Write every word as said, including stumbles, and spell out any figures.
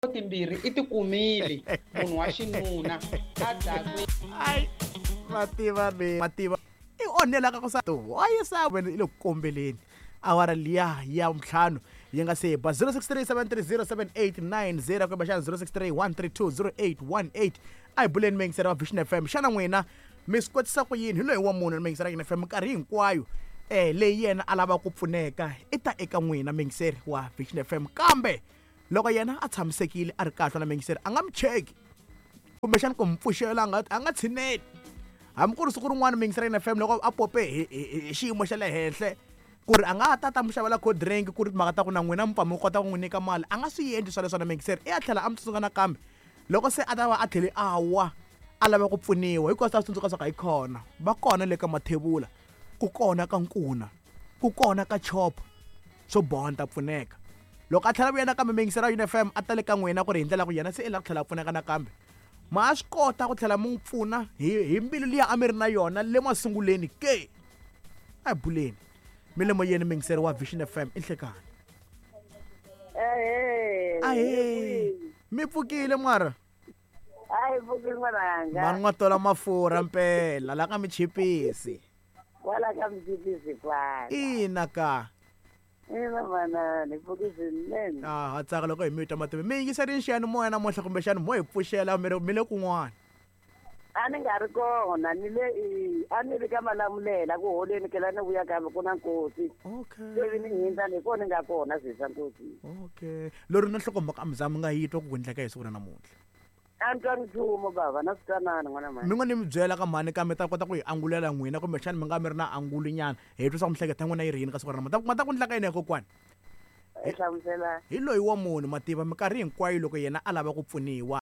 Timbirhi i ti kumile munhu wa xinuna a dakwe. Ai mativa me mativa i onhelaka ku sa to wayisa wena i le ku kombeleni awara liya ya ntlhanu yi nga se ba zero six three seven three zero seven eight nine zero kumbe xana zero six three one three two zero eight one eight. A hi buleni miyingiseri wa Vision F M, xana n'wina mi swi kotisa ku yini hi loyi wa munhu miyingiseri ya F M minkarhi hinkwayo eh leyi yena a lava ku pfuneka i ta eka n'wina miyingiseri wa Vision F M, kambe loko yena a tshamisekile a ri kahle na miyingiseri a nga mi cheki kumbexana ku mi pfuxela a nga a nga tshineli. Hambi ku ri siku rin'wana miyingiseri ya F M loko a pope hi hi xiyimo xa le henhla ku ri a nga ta ta mi xavela cold drink ku ri timhaka ta ku na n'wina mi pfa mi kota ku n'wi nyika mali, a nga swi endli swoleswo na miyingiseri, i ya tlhela a mi tsundzuka nakambe loko se a ta va a tlhele a wa a lava ku pfuniwa, hikuva swi ta tsundzuka swa ku hi kona va kona le ka mathebula, ku kona ka nkuna, ku kona ka chop, swo boha ni ta pfuneka. Loko a tlhela vuya nakambe miyingiseri ya F M a ta le ka n'wina ku ri hi ndlela ku yena se i lava ku tlhela a pfuneka nakambe, ma swi kota ku tlhela mi n'wi pfuna hi hi mbilu liya a mi ri na yona le masunguleni ke. A hi buleni mi le moyeni miyingiseri wa Vision F M i nhlekani. Ahee. Ahee. Mi pfukile mara? Hayi, pfukile n'wananga. Mani n'wa tola mafurha mpela la ka michipisi. Kwala ka michipisi kwala. Ina ka. Ina manana, hi pfukile swinene. Ah, ha tsaka loko hi mi twa matimba. Mi yingiserini xiyanimoya namuntlha kumbexana mo hi pfuxela mi ri mi le kun'wana? A ni nga ri kona, ni le i, a ni ri ka Malamulele ku holeni ke la ni vuya kambe ku na nkosi. Okay. Se ni hindza ni kona ni nga kona sweswi swa nkosi. Okay. Lori na nhlokomhaka a mi za mi nga yi twa ku endleka hi siku ra namuntlha. A ni twangi nchumu bava, na swi twanana n'wana mhani. Mi ngo ni mi byela ka mhani kambe ta kota ku yi angulela n'wina kumbexana mi nga mi ri na angulu nyana hi twa swa ku miehleketo ya n'wina yi ri yini ka siku ra namuntlha. Ma ta ku endlaka yini ya kokwani? Hi hlamusela. Hi loyi wa munhu mativa minkarhi hinkwayo loko yena a lava ku pfuniwa